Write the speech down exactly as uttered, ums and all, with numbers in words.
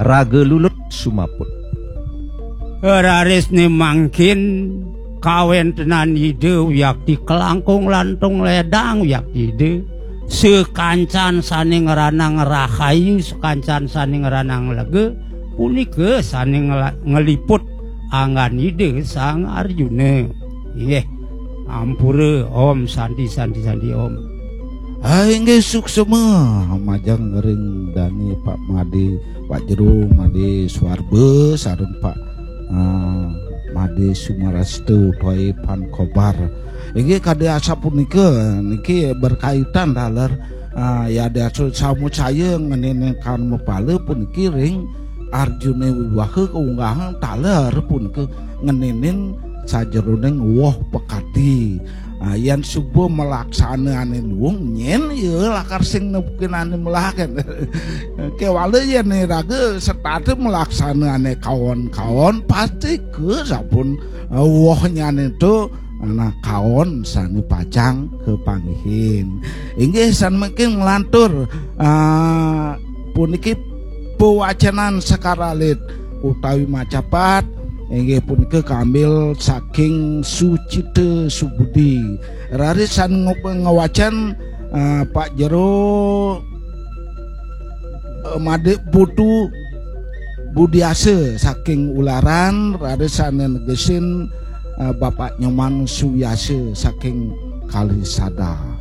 Raga lulut sumaput. Rarisne mangkin kawentenan Ida wiakti kalangkung lantung ledang wiakti Ida, sakancan sane ngranang rahayu, sakancan sane ngranang lega, punika sane ngla-, ngliput anggan Ida Sang Arjuna. Inggih, ampura, Om Santi, Santi, Santi, Om. Ah, inggih suksema majeng ring dane Pak Made, Pak Jero Made Suarba, sareng Pak, ah, Made Sumarasta utawi Pan Kobar. Inggih kadi asapunika niki berkaitan taler, ah, ya dasa samucaya ngeninin karma pala puniki ring Arjuna Wiwaha kaunggahang taler punika ngeninin sajeroning woh pekati. Ah, yen suba malaksana ane luung, nyen ya lakar sing nepukin ane melahaken. Kewala yen iraga setata malaksana ane kawon-kawon, pasti ke sampun, ah, wohnyane to, nah, kawon sane pacang kepanggihin. Inggih sane mangkin nglantur, ah, puniki pewacanan sekar alit utawi macapat, inggih punika kambil saking Sucita Subudi. Raris sane nge-, ngewacan, ah, Pak Jero, eh, Made Putu Budiasa saking Ularan, raris sane negesin, eh, Bapak Nyoman Suwiyasa saking Kalisada.